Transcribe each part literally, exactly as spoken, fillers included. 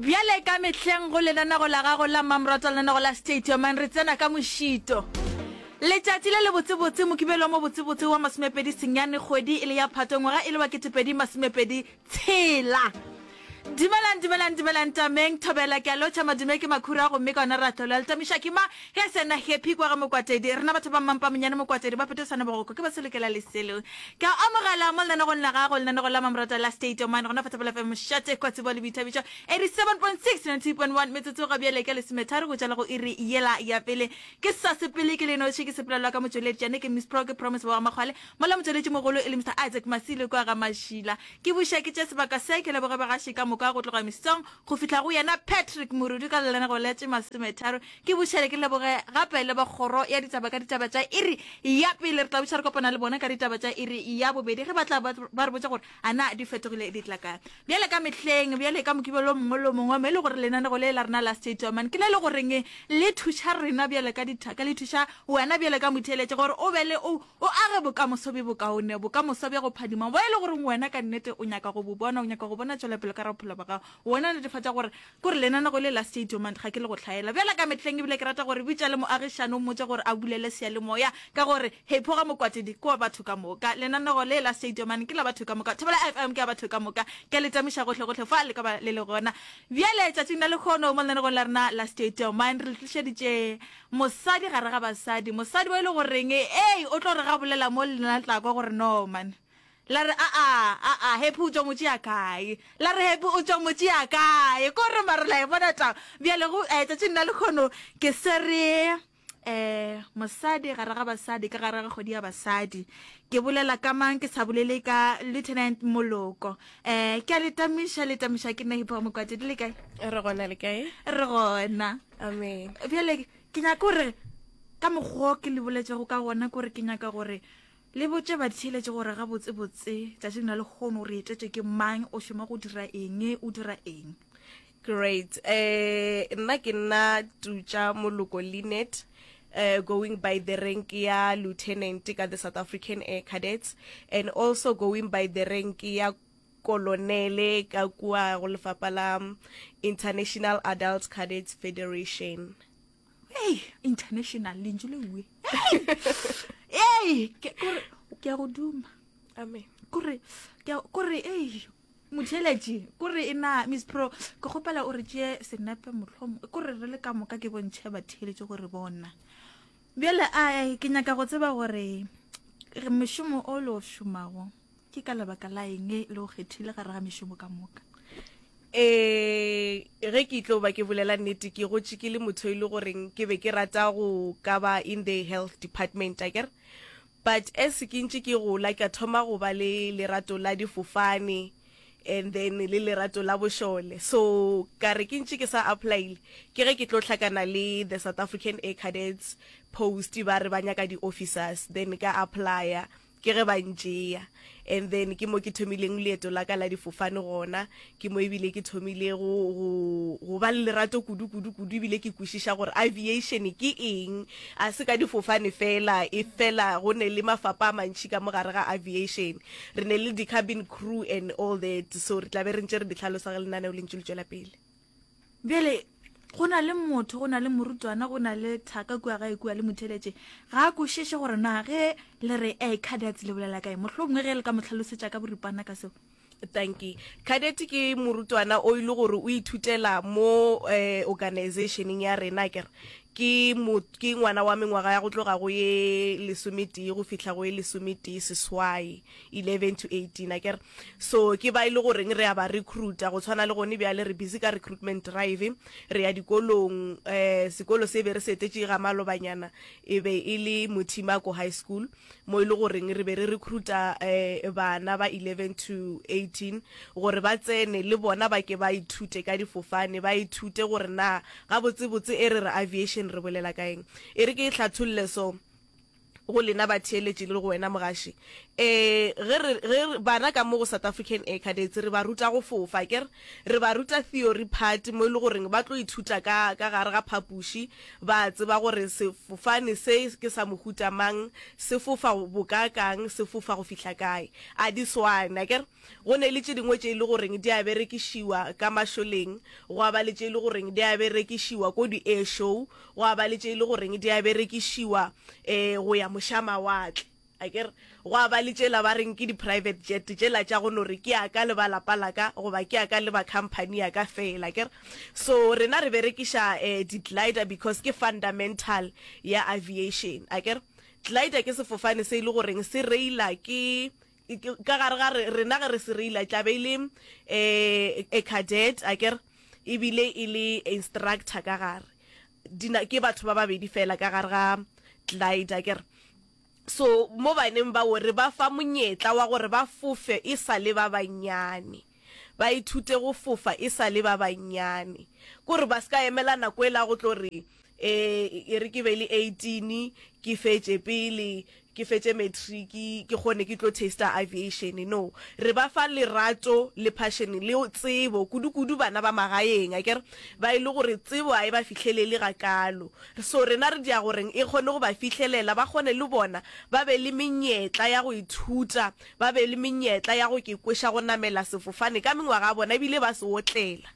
Bjale ka mehleng go lenanego la gago la mmamoratwa lenanego la State Your Mind re tsena ka mošito. Letšatši le lebotsebotse Mokibelo mo botsebotse wa masomepedi senyane kgwedi e le ya Phato ngwaga e le wa ketepedi masomepedi tshela. Dumelang dumelang dumelang tameng thobela ke a lotšha madume ke makhura gomme ka ona ra hlolwa letamiša ke ma ge sena happy kwa ga mokwatedi rena batho ba mmampa monyane mokwatedi ba petosana bogoko ke ba selokela leselo ke a amogela mo lenanegong la gago lenanego la mamorata la State of Mind gona fa Thobela F M mošate kwa tsebo le boithabišo eighty-seven point six ninety-two point one metsotso ga bjale ke lesometharo go tšwela go iri yela ya pele ke sa sepele ke lenoši ke sepelelwa ka motšweletšane ke Miss Pro ke Promise wa Makgwale mola motšweletši mogolo e le Mister Isaac Masilo kwa ga Mašila ke buša ke tše sebaka se ke leboge bagaši ka moka go tloga mesong go fihla go yena Patrick Morudu ka lenanego la tše masometharo ke bušele ke leboge gape le ba kgoro ya ditaba ka ditaba tša iri ya pele re tla buša re kopana le bona ka ditaba tša iri ya bobedi ge ba tla ba re botša gore a na di fetogile di tla kae bjale ka mehleng bjale ka mokibelo o mongwe le o mongwe mo e le gore lenanego le la rena la State of Mind ke le le goreng le thuša rena bjale ka dithaka le thuša wena bjale ka motheeletše gore o be le o o age bokamoso bjo bokaone bokamoso bja go phadima bo e le goreng wena ka nnete o nyaka go bo bona o nyaka go bona tšwelopele ka bophelo ba gago wena netefatša gore kore lenanego le la State of Mind ga ke le go hlaela bjale ka mehleng ebile ke rata gore bitša le moagišane o mmotse gore a bulele seyalemoya ka gore hepho ga mokwatedi ke wa batho ka moka lenanego le la State of Mind ke la batho ka moka Thobela F M ke ya batho ka moka ke le tamiša gohle gohle fa le ka ba le le gona bjale tšatšing la lekgono mo lenanegong la rena la State of Mind re le tlišeditše mosadi gare ga basadi mosadi wa e le goreng ei o tlo re ga bolela mo lena tla kwa gore no man la re a a a a happy o tšwa motšea kae la re happy o tšwa motšea kae ko re mare la e bona taba bjale go eh, tšatšing la lekgono ke se re eh mosadi gare ga basadi ka gare ga kgwedi ya basadi ke bolela ka mang ke sa bolele ka Lieutenant Moloko eh ke a le tamiša le tamiša ke nna Hipho Mokwatedi le kae re gona le kae re gona amen bjale ke nyaka gore ka mokgwa ke le boletšego ka gona kore ke nyaka gore le botše batheeletše gore gabotsebotse tšatšing la lekgono re etetše ke mang o šoma go dira eng o dira eng great eh nna ke nna Tutša Moloko Linet uh, going by the rank ya lieutenant ka the South African Air Cadets and also going by the rank ya kolonele ka kua go lefapha la International Adult Cadets Federation. Hey, international lentšu le uwe ei ke kore ke a go duma amen kore ke kore ei motheeletši kore e na Miss Pro ke kgopela o re tšee senepe mohlomong kore re le ka moka ke bontšhe batheeletši gore bona bjale a ke nyaka go tseba gore mošomo o le o šomago ke ka lebaka la eng le o kgethile gare ga mešomo ka moka eh ge ke tlo ba ke bolela nnete ke gotše ke le motho e le goreng ke be ke rata go ka ba in the health department akere but as ke ntše ke gola ka thoma go ba le lerato la difofane and then le lerato la bošole so ka re ke ntše ke sa applyile ke ge ke tlo hlakana le the South African Air Cadets post ba re ba nyaka di-officers then ka applya ke ge ba ntšea and then ke mo ke thomileng leeto la ka la difofane gona ke mo ebile ke thomile go go go ba le lerato kudu kudu kudu ebile ke kwešiša gore aviation ke eng a se ka difofane fela e fela go ne le mafapa a mantši ka mogare ga aviation re ne le di-cabin crew and all that so re tla be re ntše re di hlalosa ge lenaneo le ntše le tšwela pele bjale go na le motho go na le morutwana go na le thaka kua gae kua le motheeletše ga a kwešiše gore na ge le re air cadets le bolela kae mohlomongwe ge le ka mo hlalosetša ka boripana ka seo thank you cadet ke morutwana o ile gore o ithutela mo eh, organizationeng ya rena kere ke mo ke ngwana wa mengwaga ya go tloga go ye lesometee go fihla go ye lesometee seswai eleven to eighteen akere so ke ba ile goreng re a ba recruita go tshwana le gone bjale re busy ka recruitment drive re ya dikolong eh sekolo se be re se etetše ga malobanyana e be e le Mothimako High School mo e le goreng re be re recruita eh bana ba eleven to eighteen gore ba tsene le bona ba ke ba ithute ka difofane ba ithute gore na gabotsebotse e re re aviation re bolela ka eng e re ke e hlatholle so Go lena batheeletši le go wena mogaši, um ge re, ge re, bana ka mo go South African Air Cadets re ba ruta go fofa, akere? Re ba ruta theory part mo e le goreng ba tlo ithuta ka, ka gare ga phapoši, ba tseba gore sefofane se ke sa mohuta mang, se fofa bokaakang, se fofa go fihla kae. A di swane, akere? Go ne le tše dingwe tše e le goreng di a berekišiwa ka mašoleng, gwa ba le tše e le goreng di a berekišiwa ko di-air show, gwa ba le tše e le goreng di a berekišiwa um go ya mošamawatle, akere? Gwa ba le tšela ba reng ke di-private jet, tšela tša go no re ke ya ka le ba lapa la ka goba ke ya ka le ba company ya ka fela, akere? So rena re berekiša um di-glider because ke fundamental ya aviation, akere? Glider ke sefofane se e le goreng se reila ke ka gare ga rena, ge re se reila tla be e le um a cadet, akere, ebile e le instructor ka gare. Dina ke batho ba babedi fela ka gare ga glider, akere. So mo baneng bao re ba fa monyetla wa gore ba fofe e sa le ba bannyane, ba ithute go fofa e sa le ba bannyane, kore ba se ka emela nako e la go tlo re um e re ke be le eighteen, ke fetše pele ke fetše matric, ke kgone ke tlo taster aviation. No, re ba fa lerato le passion le tsebo, kudu-kudu bana ba magaeng, akere, ba e le gore tsebo a e ba fihlelele gakalo. So rena re dia goreng e kgone go ba fihlelela, ba kgone le bona ba be le menyetla ya go ithuta, ba be le menyetla ya go ke kweša go namela sefofane ka mengwaga ya bona ebile ba se otlela.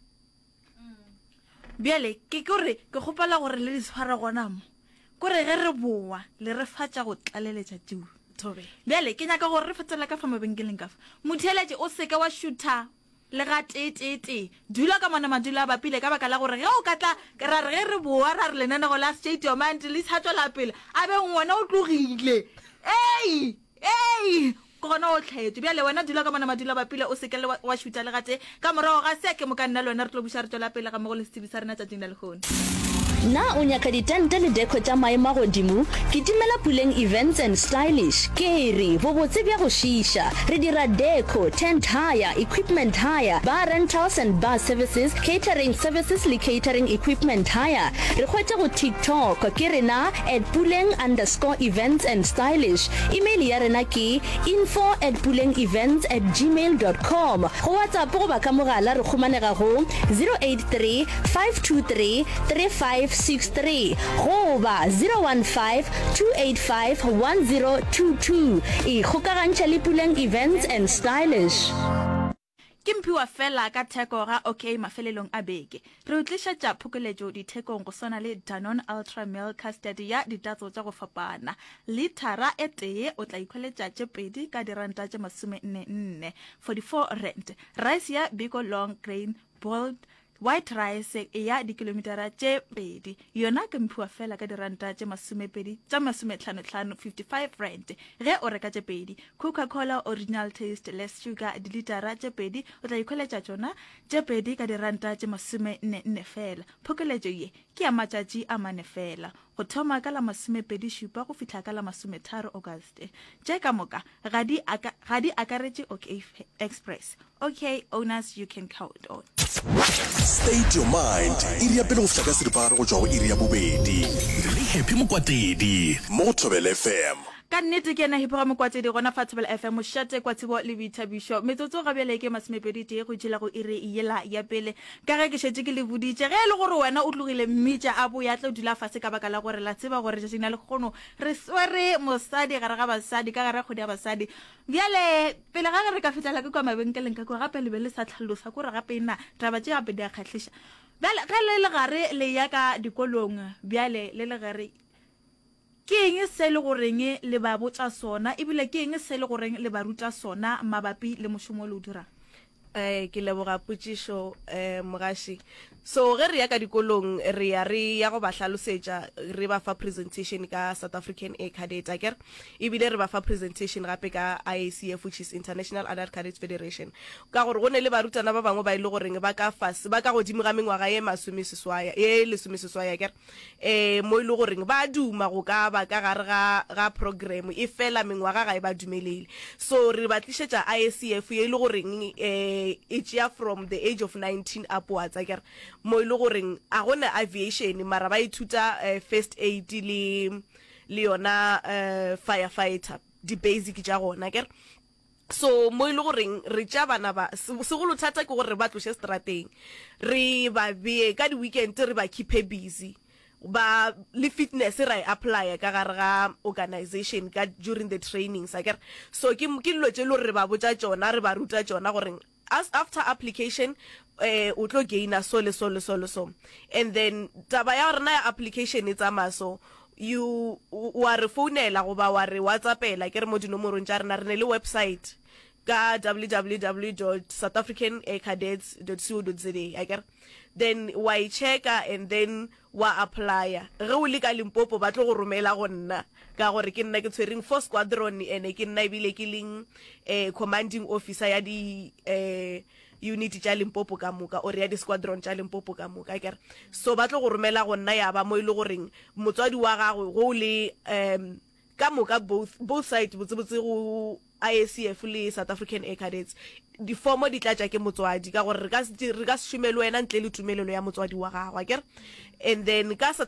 Bjale ke kore ke kgopela gore le di tshware gona mo, kore ge re boa le re fatša go tlaleletša tšeo. Thobe. Bjale ke nyaka gore re fetela ka fa mabenkeleng ka fa. Motheeletši, o seke wa šutha le ga tee-tee-tee, dula ka mona madulo a bapile, ka baka la gore ge o ka tla ra re ge re boa ra re lenanego la State Your Mind le sa tswela pele, a beng wena o tlogile, ei ei ke gona o tlhaetše. Bjale wena dula ka mona madulo a bapile, o seke le wa šutha le gatee. Ka morago ga se ke moka nna le wena re tlo buša re tswela pele ga mmogo le setsebi sa rena tšatšing la lehono. Na o nyaka ditente le deco tša maemo a godimo? Kitimela Puleng Events and Stylish. Ke re, bobotse bja go šiiša. Re dira deco, tent hire, equipment hire, bar rentals and bar services, catering services le catering equipment hire. Re hwetše go TikTok, ke rena at Puleng underscore events and stylish. Email ya rena ke info at puleng events at gmail dot com. Go WhatsApp goba ka mogala re khumanega go zero eight three, five two three, three five six three goba zero one five, two eight five, one zero two two. Ikgokagantšha le Puleng Events and Stylish. Ke mphiwa fela ka theko ga OK mafelelong a beke. Re o tlišetša phokoletšo dithekong go swana le Danone Ultra Milk Custard ya ditatso tša go fapana. Lithara e tee o tla ikhweletša tše pedi ka diranta tše masome nne nne, forty-four rand. Rice ya Biko Long Grain Boiled White rice ya dikilomitara tše pedi yona ke mphiwa fela ka diranta tše masomepedi tša masometlhanotlhano, fifty-five rand, ge o reka tše pedi. Coca-Cola Original Taste Less Sugar dilitara tše pedi o tla ikhweletša tšona tše pedi ka diranta tše masome nne nne fela. Phokoletšo ye ke ya matšatši a mane fela, go thoma ka la masomepedi šupa go fihla ka la masometharo Auguste. Tše ka moka ga di ga di akaretše OK Express. OK owners you can count on. State Your Mind, iri ya pele go fihla ka seripagare go tšwa go iri ya bobedi. Le Happy Mokwatedi. Mo go Thobela F M. Ka nnete ke yena Happy ga Mokwatedi gona fa Thobela F M, mošate kwa tsebo le boithabišo. Metsotso ga bjale ke masomepedi tee go tšhela go iri yela ya pele. Ka ge ke šetše ke le boditše, ge e le gore wena o tlogile mmitša a boya tlo dula fase, ka baka la gore la tseba gore tšatšing la lehono re swere mosadi gare ga basadi, ka gare ga kgwedi ya basadi. Bjale pele ga ge re ka fihlela ke kwa mabenkeleng ka kwa, gape le be le sa tlhalosa kore gape na taba tše gape di a kgahliša. Bjale ge le le gare le ya ka dikolong, bjale le le gare ke eng se le goreng le ba botša sona, ebile ke eng se le goreng le ba ruta sona mabapi le mošomo o le o dirang? Eh, ke leboga potšišo, eh, mogaši. So ge re ya ka dikolong, re ya re ya go ba hlalosetša, re ba fa presentation ka South African Air Cadet, akere? Ebile re ba fa presentation gape ka I A C F, which is International Adult Cadets Federation. Ka gore go ne le barutwana ba bangwe ba e le goreng ba ka fase, ba ka godimo ga mengwaga ye masomeseswai, ye lesomeseswai, akere? Eh, mo e le goreng ba duma go ka ba ka gare ga, ga program, e fela mengwaga ga e ba dumelele. So re ba tlišetša I A C F ye e le goreng, eh, e tšea from the age of nineteen upwards, akere? Mo e le goreng a gona aviation, mara ba ithuta, eh, first aid le, le yona uh, firefighter di-basic tša gona akere so mo e le goreng re tša bana ba segolo thata ke gore re ba tloše strateng re ba bee ka di-weekend re ba keepe busy ba le fitness ra e applya ka gare ga organization ka during the trainings akere so ke ke dilo tše le gore re ba botša tšona re ba ruta tšona gore as after application eh o tlo gaina so le so le so le so and then taba ya rena ya application e tsamaya so you wa re founela goba wa re whatsappela ke re mo dinomorong tša rena re ne le website ka www dot south african air cadets dot co dot za akere then wa e checka and then wa applya ge o le ka limpopo ba tlo go romela go nna ka gore ke nna ke tshwereng four squadron ene ke nna ebile ke leng eh, commanding officer ya di eh, unit tša limpopo ka moka or ya di-squadron tša limpopo ka moka akere so ba tlo go romela go nna ya ba mo e le goreng motswadi wa gagwe go le um ka moka both both side botsebotse go IACF le South African Air Cadets difomo di tlatša ke motswadi ka gore re ka se re ka se šome le wena ntle le tumelelo ya motswadi wa gagwe akere and then ka South